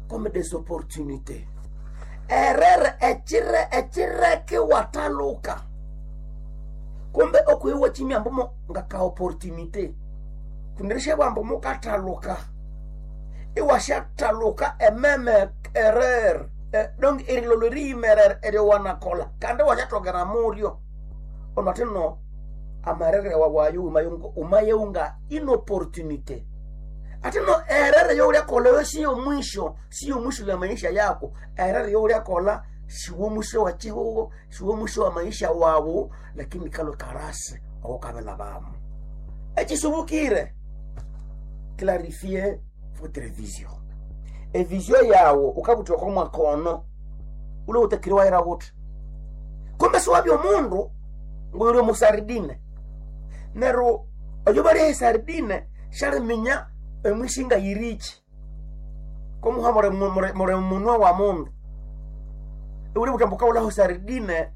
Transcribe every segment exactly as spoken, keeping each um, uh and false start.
comme des opportunités. Erreur echire echireke wataluka kumbe okuiwa chimya mbumo ngaka opportunité kundirisha bwambo mukataluka iwashataluka ememe erreur eh, donc erilolo riyimerere eryo wanakola kandi washatokera muryo ono atino amarere wawayo umayeunga inopportunité atino erere youlyakola siyo mwisho siyo mwisho ya maisha yako. Erere youlyakola siwo mwisho wa chihugo siwo mwisho wa maisha wawu, lakini kalo karasi awokabela bamu echisubukire. Clarifier votre vision, evision yawo ukabutwako mwakono ule utakiri waira wuthi kumbe siwabya omundu nguyuli omusardine neryo oyo balya esardine shaliminya emwishinga yirichi komuha mure munwa wa mundu uli butambuka ulaho sardine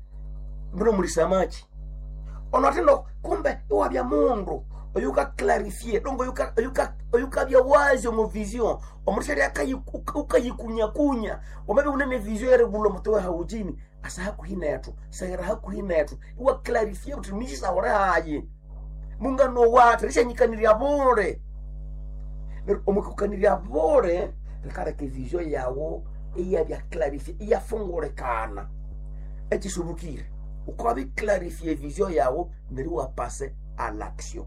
mbino muli samaki ono atino kumbe iwabya mundu oyuka clarifie dongo oyuka oyuka oyukabya wazi omu vision omundu shali ukayikunyakunya wamabe unene vision yeribula omutowe haujini asa hakuhi nethu saira hakuhi nethu iwa clarifie uthi misisawure hayi mungano wathu rishanyikanirya bule neryo omwikukanirya bule rikaleka evision yawu iyabya clarifie iyafungulikana. Ekisubukire ukabiclarifie vision yawu neryo iwapase à l'action.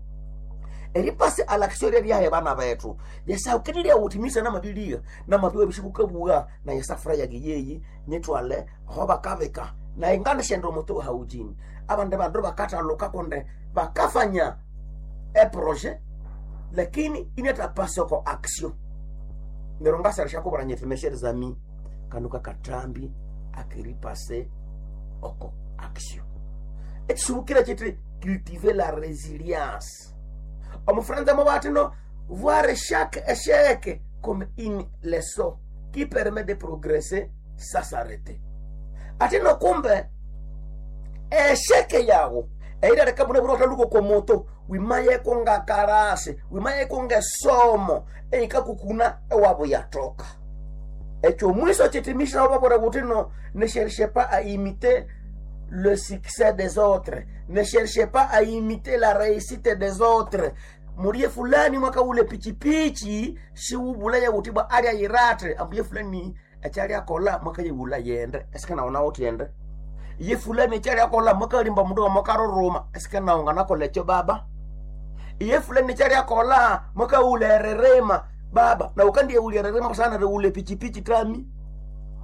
Eripase à l'action ryahe bana bethu yesaukenelya uthi misa namabilia namabiwa bishikukabuwa na yesafura yage yeyi nyitwale aho bakabika na ingana shendo omuto haujini abandi bandu bakathaluka kunde bakafanya eprojet lakini inatapasa ko action neryo ngasara kubara nyethu mes chers amis kanuka katambi akiripase oko action. Ekisubukira kiti cultiver la résilience. Omufranza mo voir chaque échec comme une leçon qui permet de progresser sans s'arrêter. Atino kumbe échec yawo eirareka mune buri wataluko komoto wimayeko ngakarase wimayeko ngesomo eikakukuna ewabo yatoka. Ekyo mwiso chitimisha wababora butino ne cherchez pas à imiter le succès des autres, ne cherchez pas à imiter la réussite des autres. Murie fulani mwaka ule pichipichi siubulaya utibwa alya yirate ambuye fulani echali akola mwaka yibula yende esikana ona uti yende ye fulani echali akola mwaka limba mundu mwaka roroma esikana ungana kolecho baba ye fulani echali akola mwaka ule rerema baba na ukandiye ule rerema sana ule pichipichi tami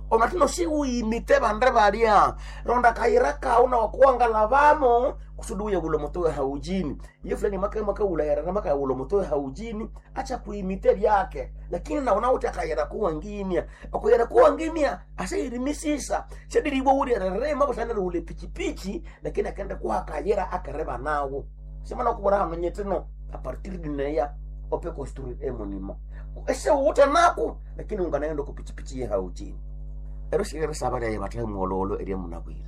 onatino siuimite bande balya ronda kayira kawu nawakuwangala bamo kusudi uye bulo mutowe haujini ye fulani maka maka ulayarana maka ulo mutowe haujini acha kuimite byake lakini naona uti akayira kuwangimya akuyira kuwangimya asayirimisisa shadiribo ulirerema busanira ule pichipichi lakini akenda kuha kayira akareba nawo simana kubora hano nyetino a partir dineya ope construire emonima ese uta nako lakini unganaenda kupichipichi ye haujini ero shirere saba lyaye bathahe muololo erya munabwire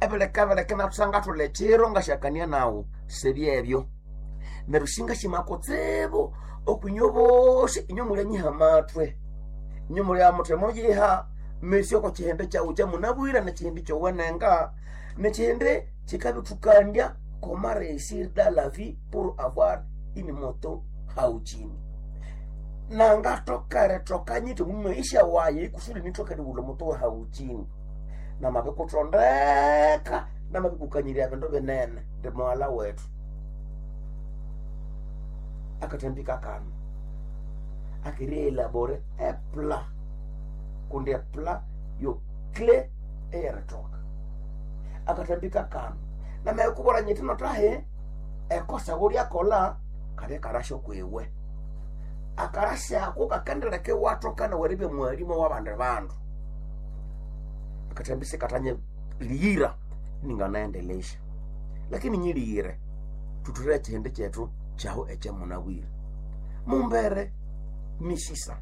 ebeleka nathusanga thule chiro ngashakania nawo sebyebyo neryo singa shimakotsibu okwinywe bosi inywe mulyanyiha matwe inywe mulya muthe muyiha mesi oko chihindi kyawu kyamunabwire nechihindi kyowenenga nechihindi chikabithukandya comment réussir dans la vie pour avoir une moto haujini nangatokere tokanyite mumaisha waye kusudi nitokere ulo moto haujini namabikutondeka namabikukanyirya bindu binene ndi mwala wetu akatambika kano akirielabore epla kundi epla yo cle eyeritoka akatambika kano namayikubora nyitino tahe ekosa gulyakola kabya karasho kwiwe akarasi ako kakendereke watokana weribye mwalimu wabandi bandu akatambise katanye liyira ninganaendelesha lakini nyiliyire tuture chihindi chetu chaho echemunabwire mumbere misisa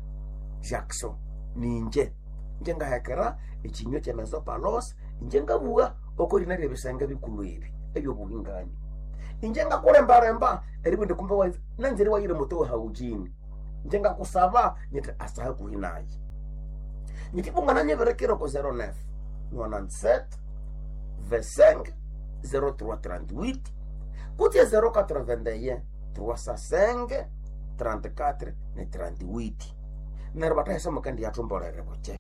Jackson ninje nje ngahekera echinywa chemezopalos inje ngabuga okorina lyebisenge bikulu ebi ebyobuhingani inje ngakulembalemba eribwende kumbe wa nanzeri wayire muto haujini nje ngakusaba nyete asaha kuhinaye. Nyitibungana nyeberekera ko zero nove nonante-sept vingt-cinq zero trois trente-huit kutse zero quatre-vingt-un trois cent cinq trente-quatre ne trente-huit. Neryo batahesa mukendi yathumbolere buche.